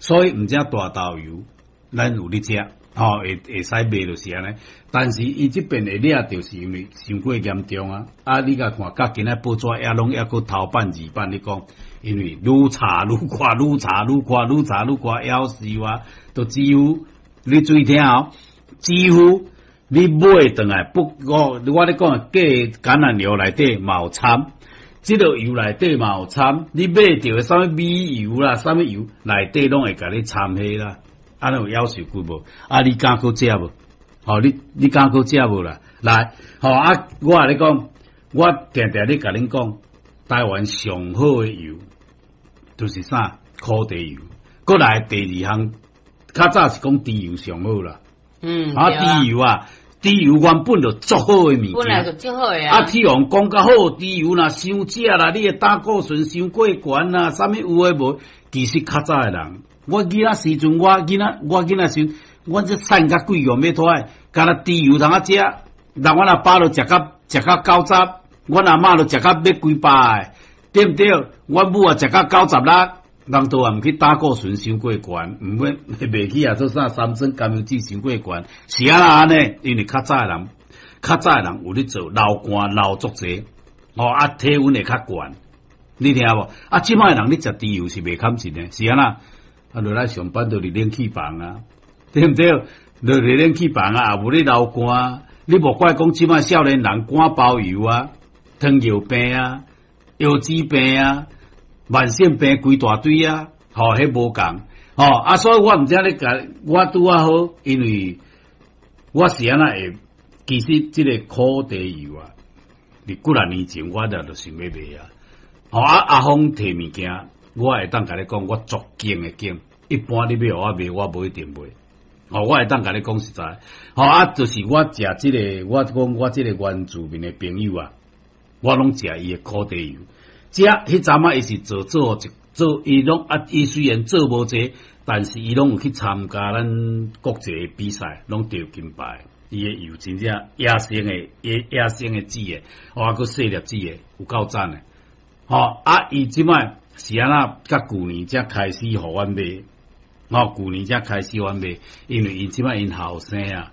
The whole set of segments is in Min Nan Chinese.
所以毋知大豆油，咱有咧食，吼，會使賣就是按呢。但是伊這邊會掠著是因為傷過嚴重啊！啊，你共看，佮今仔報紙也攏猶閣頭版二版咧講，因為愈查愈闊，愈查愈闊，愈查愈闊，夭壽啊！都幾乎你注意聽哦，幾乎你買轉來不，我咧講假橄欖油內底嘛有摻，這个油內底嘛有摻，你買著的啥物米油啦，啥物油內底攏會共你摻彼啦。按呢有夭壽骨無？啊，你敢閣食無？吼，你敢閣食無啦？來，吼啊！我共你講，我定定咧共恁講，台灣上好的油就是啥？苦茶油。閣來第二項，較早是講豬油上好啦。啊，豬油啊，豬油原本就足好的物件。本來就足好的啊。啊，去予人講較好，豬油若傷食啦，你的膽固醇傷過懸啦，啥物有的無？其實較早的人，我囡仔時陣，我囡仔時陣，阮這瘦甲鬼樣欲拖的，干焦豬油通仔食，人阮阿爸都食甲90，阮阿嬤都食甲欲幾百的，對毋對？阮母也食甲96，人都也毋去膽固醇傷過懸，毋免袂去啊做啥三酸甘油酯傷過懸，是按怎按呢？因為較早的人，較早的人有咧做流汗流足濟，哦啊體溫會較懸，你聽無？啊，這擺的人你食豬油是袂堪真的，是按怎？啊，落來上班就佇冷氣房啊，對毋對？落佇冷氣房啊，也無咧流汗。你無怪講這擺少年人肝包油啊、糖尿病啊、腰子病啊、慢性病規大堆啊，吼，彼無仝，吼啊，所以我毋知你共我拄仔好，因為我是按怎會，其實這个苦茶油啊，佇幾若年前我就想欲賣啊，吼啊阿峰提物件，我會當共你講，我足敬的敬。一般你欲予我賣，我無一定賣。吼，我會當共你講實在，吼啊，就是我食這个，我講我這个原住民的朋友啊，我攏食伊的苦茶油。食彼陣仔伊是做做一做，伊攏啊，伊雖然做無濟，但是伊攏有去參加咱國際的比賽，攏得金牌。伊的油真正野生的，野生的籽的，哦，閣細粒籽的，有夠讚的。吼啊，伊這擺是按怎？佮舊年才開始予阮買。吼，舊年才開始予阮買，因為𪜶這擺𪜶後生啊，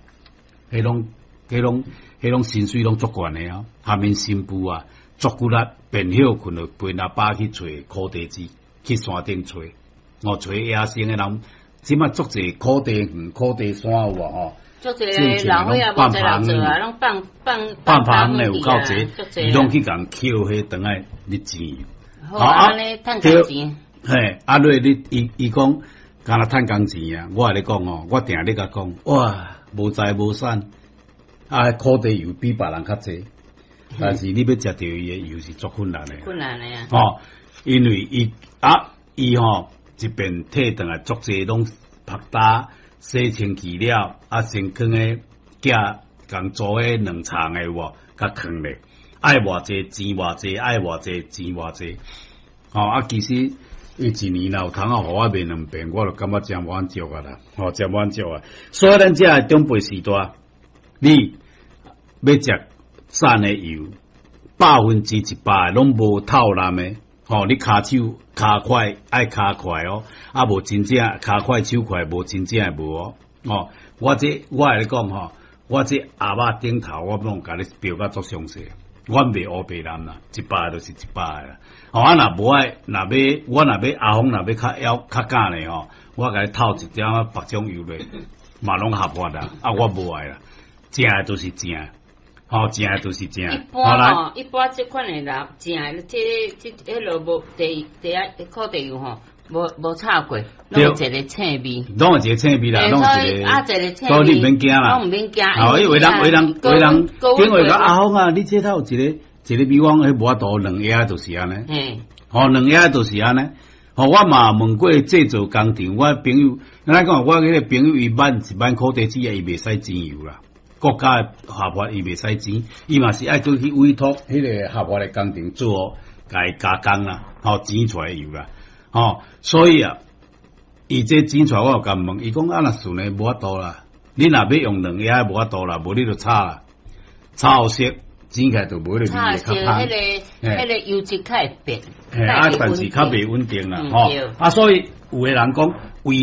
彼攏薪水攏足懸的啊，下面新婦啊，足骨力，便歇睏就陪阿爸去揣苦茶籽，去山頂揣，哦，揣野生的人，這擺足濟苦茶園、苦茶山有無吼？足濟老歲仔無濟人做啊，攏放放放放的有夠濟，伊攏去共抾彼轉來咧煎。好啊，按呢趁工錢。嘿，啊，你伊講。敢若趁工錢啊！我共你講哦，我定咧共講，哇，無財無產，啊，苦茶油比別人較濟，但是你欲食著伊的油是足困難的。困難的啊！吼，因為伊啊，伊吼一邊提轉來足濟攏曝焦洗清氣了，啊，先囥咧寄共做彼兩層的有無？共囥咧，愛偌濟錢偌濟，愛偌濟錢偌濟。吼啊，其實。伊一年若有通仔予我賣兩遍，我就感覺誠滿足啊啦，吼，誠滿足啊！所以咱遮的長輩時代，你欲食讚的油，100%攏無透濫的，吼，你跤手跤快愛跤快哦，啊無真正跤快手快，無真正的無哦，哦，我這我共你講吼，我這鴨肉頂頭我攏共你標甲足詳細。阮袂烏白濫啦，100就是100啦。吼啊，若無愛，若欲我若欲阿峰若欲較枵較敢咧吼，我共你透一點仔別種油咧，嘛攏合法啦。啊，我無愛啦，正的就是正，吼，正的就是正。一般吼，一般這款的人，正的這這彼落無茶茶仔苦茶油吼，無炒過，攏有一個青味，攏有一個青味啦，攏有一個，啊，一個青味，所以你毋免驚啦，攏毋免驚。哦，因為人為人為人，因為講阿峰啊，你這頭有一個一個比方，彼無法度兩盒就是按呢，吼，兩盒就是按呢。吼，我嘛問過製造工廠，我朋友，咱講我彼個朋友伊挽一挽苦茶籽啊，伊袂使煎油啦，國家的合法伊袂使煎，伊嘛是愛閣去委託彼個合法的工廠做，共伊加工啦，吼，煎出來油啦。吼，所以啊，伊這煎出來，我有共問，伊講啊，若算呢無法度啦，你若欲用兩盒無法度啦，無你就炒啦，炒色煎起來就無彼個味會較香。彼個油脂較會變，啊，但是較袂穩定啦，吼。啊，所以有的人講，為